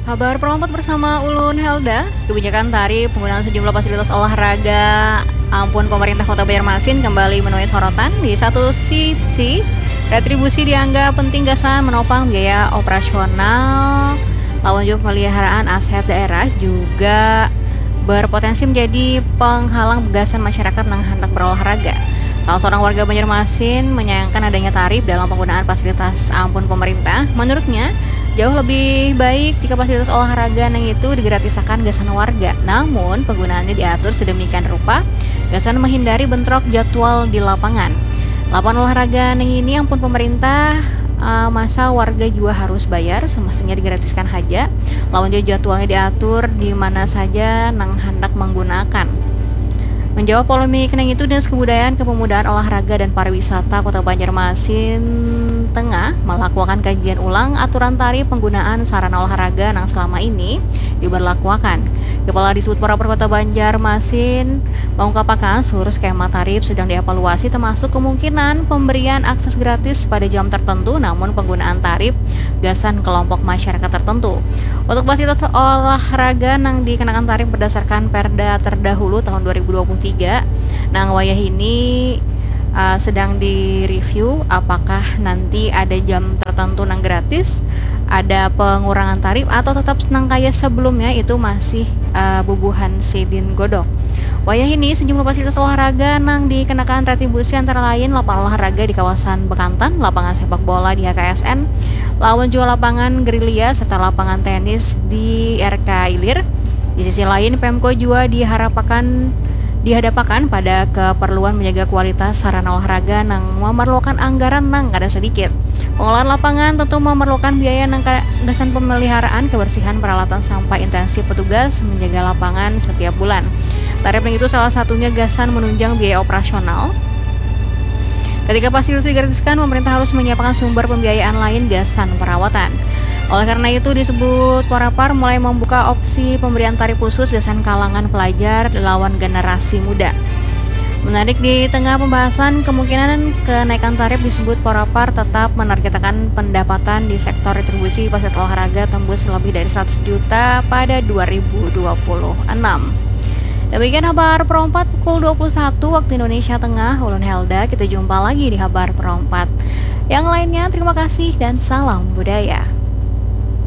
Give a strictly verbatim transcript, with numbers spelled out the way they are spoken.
Habar perompat bersama ulun Helda. Kebijakan tarif penggunaan sejumlah fasilitas olahraga ampun pemerintah Kota Banjarmasin kembali menuai sorotan. Di satu sisi, retribusi dianggap penting gasan menopang biaya operasional lawan juga pemeliharaan aset daerah juga berpotensi menjadi penghalang gasan masyarakat nang hendak berolahraga. Salah seorang warga Banjarmasin menyayangkan adanya tarif dalam penggunaan fasilitas ampun pemerintah. Menurutnya, jauh lebih baik jika fasilitas olahraga nang itu digratisakan gasan warga. Namun, penggunaannya diatur sedemikian rupa gasan menghindari bentrok jadwal di lapangan. Lapangan olahraga nang ini ampun pemerintah, uh, masa warga juga harus bayar, semestinya digratiskan haja. Lawan jadwalnya diatur di mana saja nang hendak menggunakan. Menjawab polemik nang itu, Dinas Kebudayaan, Kepemudaan, Olahraga, dan Pariwisata Kota Banjarmasin Tengah melakukan kajian ulang aturan tarif penggunaan sarana olahraga nang selama ini diberlakuakan. Kepala Disbud Porapar Kota Banjarmasin mengungkapkan seluruh skema tarif sedang dievaluasi, termasuk kemungkinan pemberian akses gratis pada jam tertentu, namun penggunaan tarif gasan kelompok masyarakat tertentu. Untuk fasilitas olahraga nang dikenakan tarif berdasarkan Perda terdahulu tahun dua ribu dua puluh tiga, nang wayah ini uh, sedang direview apakah nanti ada jam tertentu nang gratis, ada pengurangan tarif atau tetap nang kaya sebelumnya itu masih uh, bubuhan sidin godok. Wayah ini sejumlah fasilitas olahraga nang dikenakan retribusi antara lain lapangan olahraga di kawasan Bekantan, lapangan sepak bola di H K S N, lawan juga lapangan gerilya serta lapangan tenis di R K Ilir. Di sisi lain, Pemko juga diharapakan dihadapakan pada keperluan menjaga kualitas sarana olahraga nang memerlukan anggaran nang kada sedikit. Pengolahan lapangan tentu memerlukan biaya nang ka- gasan pemeliharaan, kebersihan, peralatan sampai intensif petugas menjaga lapangan setiap bulan. Tarif nang itu salah satunya gasan menunjang biaya operasional. Ketika fasilitas digratiskan, pemerintah harus menyiapkan sumber pembiayaan lain gasan perawatan. Oleh karena itu, Disbud Porapar mulai membuka opsi pemberian tarif khusus gasan kalangan pelajar lawan generasi muda. Menarik, di tengah pembahasan kemungkinan kenaikan tarif, Disbud Porapar tetap menargetkan pendapatan di sektor retribusi fasilitas olahraga tembus lebih dari seratus juta pada dua ribu dua puluh enam. Demikian habar perompat pukul dua puluh satu waktu Indonesia Tengah. Ulun Helda, kita jumpa lagi di habar perompat yang lainnya. Terima kasih dan salam budaya.